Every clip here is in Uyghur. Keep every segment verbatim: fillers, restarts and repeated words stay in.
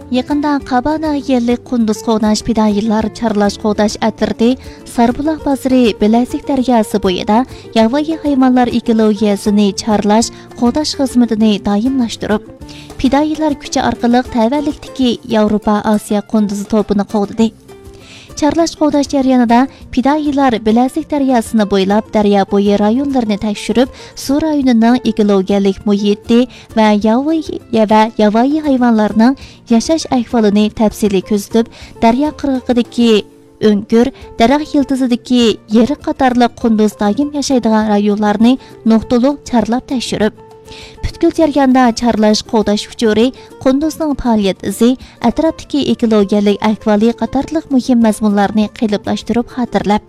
يېقىندا قابا ناھىيەلىك قۇندۇز قوغداش پىدائىيلار چارلاش قوغداش ئەترىتى ساربۇلاق بازىرى بىلەزىك دەرياسى بويىدا ياۋايى ھايۋانلار ئېكولوگىيەسىنى چارلاش، قوغداش خىزمىتىنى دائىملاشتۇرۇپ، پىدائىيلار كۈچى ئارقىلىق تەۋەلىكتىكى ياۋروپا ئاسىيا قۇندۇزى توپىنى قوغدىدى. چارلاش قوغداش جەريانىدا پىدائىيلار بىلەزىك دەرياسىنى بويلاپ، دەريا بويى رايونلىرىنى تەكشۈرۈپ، سۇ رايونىنىڭ ئېكولوگىيەلىك مۇھىتى ۋە ياۋايى، ۋە ياۋايى ھايۋانلارنىڭ ياشاش ئەھۋالىنى تەپسىلىي كۆزىتىپ، دەريا قىرغىقىدىكى ئۆڭكۈر، دەرەخ يىلتىزىدىكى يېرىق قاتارلىق قۇندۇز دائىم ياشايدىغان رايونلارنى نۇقتىلىق چارلاپ تەكشۈرۈپ، پۈتكۈل جەرياندا چارلاش قوغداش ئۇچۇرى، قۇندۇزنىڭ پائالىيەت ئىزى، ئەتراپتىكى ئېكولوگىيەلىك ئەھۋالى قاتارلىق مۇھىم مەزمۇنلارنى قېلىپلاشتۇرۇپ خاتىرىلەپ،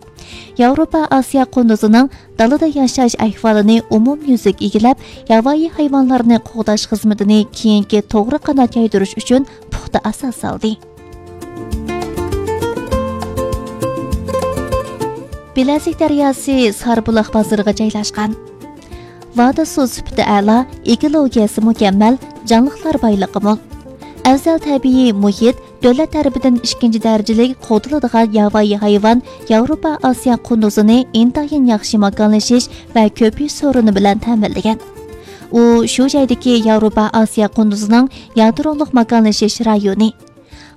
ياۋروپا ئاسىيا قۇندۇزىنىڭ دالىدا ياشاش ئەھۋالىنى ئومۇميۈزلۈك ئىگىلەپ، ياۋايى ھايۋانلارنى قوغداش خىزمىتىنى كېيىنكى توغرا قانات يايدۇرۇش ئۈچۈن پۇختا ئاساس سالدى. بىلەزىك دەرياسى ساربۇلاق بازىرىغا جايلاشقان. ۋادى سۇ سۈپىتى ئەلا، ئېكولوگىيەسى مۇكەممەل، جانلىقلار بايلىقى مول. ئەۋزەل تەبىئىي مۇھىت، دۆلەت تەرىپىدىن ئىككىنچى دەرىجىلىك قوغدىلىدىغان ياۋايى ھايۋان ياۋروپا ئاسىيا قۇندۇزىنى ئىنتايىن ياخشى ماكانلىشىش ۋە كۆپىيىش سورۇنى بىلەن تەمىنلىگەن. ئۇ شۇ جايدىكى ياۋروپا ئاسىيا قۇندۇزىنىڭ يادرولۇق ماكانلىشىش رايونى.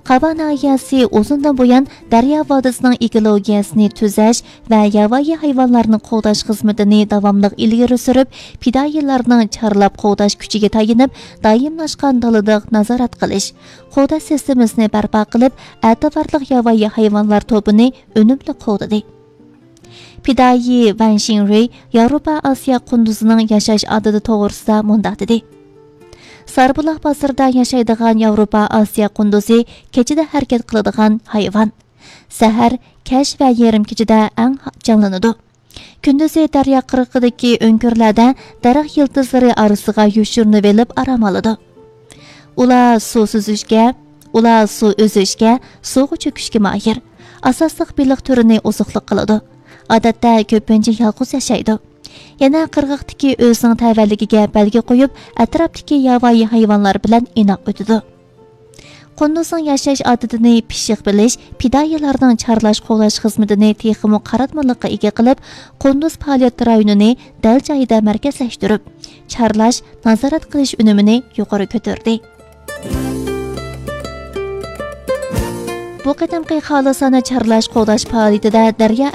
قابا ناھىيەسى ئۇزۇندىن بۇيان دەريا ۋادىسىنىڭ ئېكولوگىيەسىنى تۈزەش ۋە ياۋايى ھايۋانلارنى قوغداش خىزمىتىنى داۋاملىق ئىلگىرى سۈرۈپ، پىدائىيلارنىڭ چارلاپ قوغداش كۈچىگە تايىنىپ، دائىملاشقان دالىلىق نازارەت قىلىش، قوغداش سىستېمىسىنى بەرپا قىلىپ، ئەتىۋارلىق ياۋايى ھايۋانلار توپىنى ئۈنۈملۈك قوغدىدى. پىدائىي ۋەن شىڭرۇي ياۋروپا ئاسىيا قۇندۇزىنىڭ ياشاش ئادىتى توغرىسىدا مۇنداق دېدى: ساربۇلاق بازىرىدا ياشايدىغان ياۋروپا ئاسىيا قۇندۇزى كېچىدە ھەرىكەت قىلىدىغان ھايۋان. سەھەر، كەچ ۋە يېرىم كېچىدە ئەڭ جانلىنىدۇ. كۈندۈزى دەريا قىرغىقىدىكى ئۆڭكۈرلەردە دەرەخ يىلتىزلىرى ئارىسىغا يوشۇرۇنۇۋېلىپ ئارام ئالىدۇ. ئۇلار سۇ سۈزۈشكە، ئۇلار سۇ ئۈزۈشكە، سۇغا چۆكۈشكە ماھىر. ئاساسلىق بېلىق تۈرىنى ئوزۇقلۇق قىلىدۇ. ئادەتتە كۆپىنچە يالغۇز ياشايدۇ. يەنە قىرغاقتىكى ئۆزىنىڭ تەۋەلىكىگە بەلگە قويۇپ، ئەتراپتىكى ياۋايى ھايۋانلار بىلەن ئىناق ئۆتىدۇ. قۇندۇزنىڭ ياشاش ئادىتىنى پىششىق بىلىش پىدائىيلارنىڭ چارلاش قوغداش خىزمىتىنى تېخىمۇ قاراتمىلىققا ئىگە قىلىپ، قۇندۇز پائالىيەت رايونىنى دەل جايىدا مەركەزلەشتۈرۈپ، چارلاش، نازارەت قىلىش ئۈنۈمىنى يۇقىرى كۆتۈردى. بۇ قېتىمقى خالىسانە چارلاش قوغداش پائالىيىتىدە دەريا